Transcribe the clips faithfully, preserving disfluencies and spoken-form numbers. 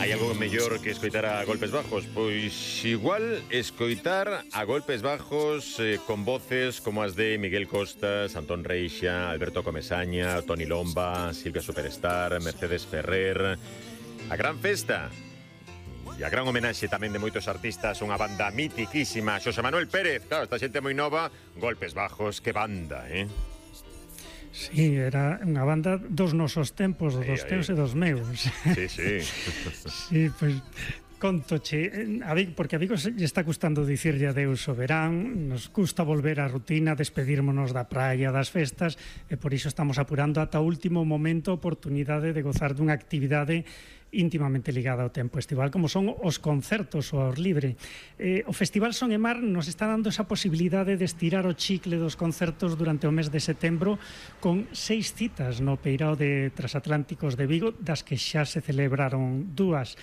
Hai algo mellor que escoitar a Golpes Bajos? Pois igual escoitar a Golpes Bajos eh, con voces como as de Miguel Costas, Antón Reixa, Alberto Comesaña, Toni Lomba, Silvia Superstar, Mercedes Ferrer. A gran festa e a gran homenaxe tamén de moitos artistas, unha banda mitiquísima, Xosé Manuel Pérez. Claro, esta xente moi nova. Golpes Bajos, que banda, eh? Sí, era unha banda dos nosos tempos, dos aí, teus aí. e dos meus. Sí, sí. Sí, pois, contoche, a Vigo, porque a Vigo lle está custando dicirlle adeus ao verán, nos custa volver á rutina, despedírmonos da praia, das festas, e por iso estamos apurando ata o último momento a oportunidade de gozar dunha actividade íntimamente ligada ao tempo estival, como son os concertos ao ar libre. Eh, o Festival Son e Mar nos está dando esa posibilidade de estirar o chicle dos concertos durante o mes de setembro con seis citas no Peirao de Transatlánticos de Vigo, das que xa se celebraron dúas.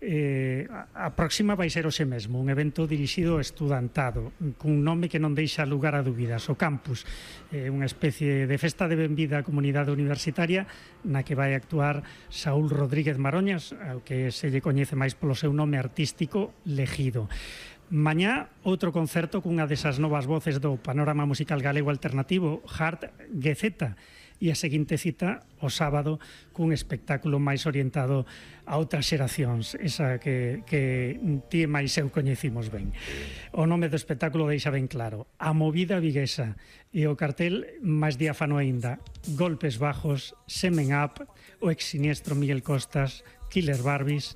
Eh, a próxima vai ser hoxe mesmo, un evento dirixido ao estudantado, cun nome que non deixa lugar a dúbidas, o Campus, eh, unha especie de festa de benvida á comunidade universitaria na que vai actuar Saúl Rodríguez Maroñas, ao que se lle coñece máis polo seu nome artístico Legido. Mañá, outro concerto cunha desas novas voces do panorama musical galego alternativo, Hart Gezeta, e a seguinte cita o sábado cun espectáculo máis orientado a outras xeracións, esa que, que ti e máis eu coñecimos ben. O nome do espectáculo deixa ben claro: A Movida Viguesa, e o cartel máis diáfano aínda: Golpes Bajos, Semen Up, o ex siniestro Miguel Costas, Killer Barbies.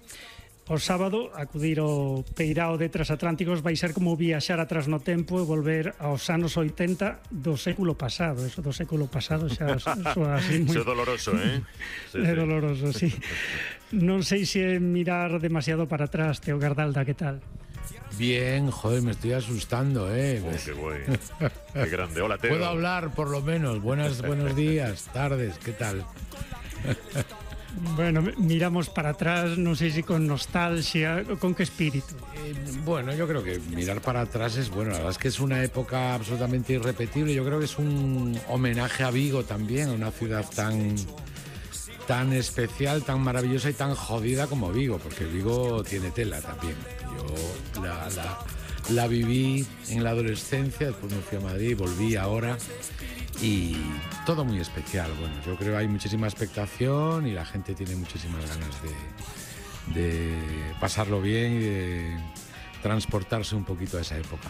O sábado, acudir ao Peirao de Transatlánticos vai ser como viaxar atrás no tempo e volver aos anos oitenta do século pasado. Eso do século pasado xa soa así moi... Eso é doloroso, eh? Sí, é sí. doloroso, sí. Non sei se mirar demasiado para atrás, Teo Gardalda, que tal? Bien, joder, me estoy asustando, eh. Oh, qué bueno. Qué grande. Hola, Teo. Puedo hablar, por lo menos. Buenas, buenos días, tardes, ¿qué tal? Bueno, miramos para atrás, non sei se con nostalgia, con que espírito. Eh, bueno, yo creo que mirar para atrás es bueno. La verdad es que es una época absolutamente irrepetible. Yo creo que es un homenaje a Vigo también, a una ciudad tan, tan especial, tan maravillosa y tan jodida como Vigo, porque Vigo tiene tela también. Yo la, la, la viví en la adolescencia, después me fui a Madrid, volví ahora. Y todo muy especial. Bueno, yo creo que hay muchísima expectación y la gente tiene muchísimas ganas de, de pasarlo bien y de transportarse un poquito a esa época.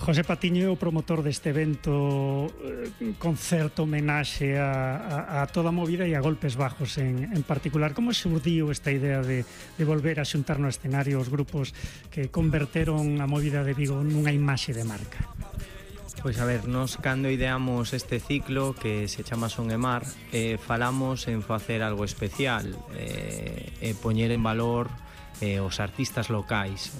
José Patiño é o promotor deste evento, eh, concerto, homenaxe a, a, a toda a movida e a Golpes Bajos en, en particular. Como xurdiu esta idea de, de volver a xuntar no escenario os grupos que converteron a movida de Vigo nunha imaxe de marca? Pois a ver, nos cando ideamos este ciclo que se chama Son e Mar, eh, falamos en facer algo especial, eh, e poñer en valor eh, os artistas locais,